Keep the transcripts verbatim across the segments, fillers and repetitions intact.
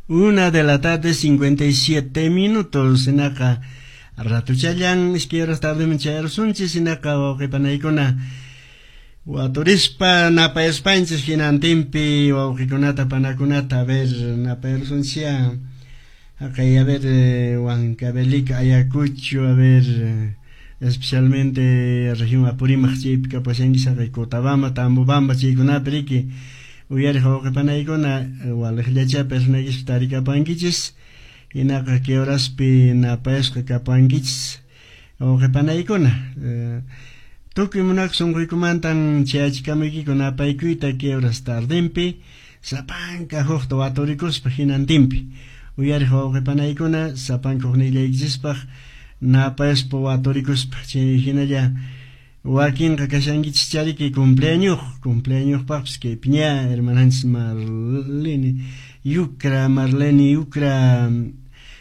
Una de la tarde, cincuenta y siete minutos. Hinaqa ratuchallan iskay horas tardeman chayarusunchis. Hinaqa wawqipanaykuna waturispa napayaspanchis hinantinpi wawqikunata panakunata, a ver, napayarusunchis. Haqay, a ver, Huancavelica, Ayacucho, a ver, especialmente región Apurímac chaypi kapashanchis, haqay Cotabamba, Tambobamba chaykunapi riki uyariq wawqipanaykuna waliqllacha personaykispa tarikapankichis. Hinaqa kay horaspi napayasqa kapankichis wawqipanaykuna. Tukuy munakuq sunquykumantan chayachikamuykiku napaykuyta kay horas tardenpi sapanka hukta waturikuspa hinantinpi uyariq wawqipanaykuna sapanka huknillaykichispaq napayaspa waturikuspa. Chay hinalla wakinqa kashankichis chariki cumpleaños, cumpleañospaqpis kay piña hermananchis Marlene Yucra, Marlene Yucra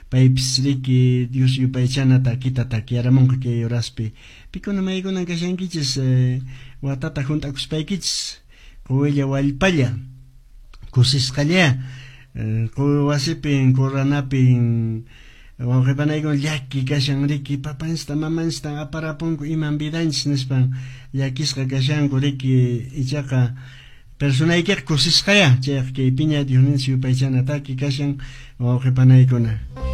paypis riki Dios yupaychana takita takiaramunqa kay horaspi. Pikuna maykunan kashankichis eh, watata hunt'akuspaykichis quwilla wallpalla kusisqalla eh, wasipin kurranapin wawqipanaykuna llaki kashan riki papanchista mamanchista aparapunku iman vidanchis nispan llakisqa kashanku riki ichaqa personaykiqa kusisqaya chayqa kay piña Diosninchis yupaychana taki kashan wawqipanaykuna.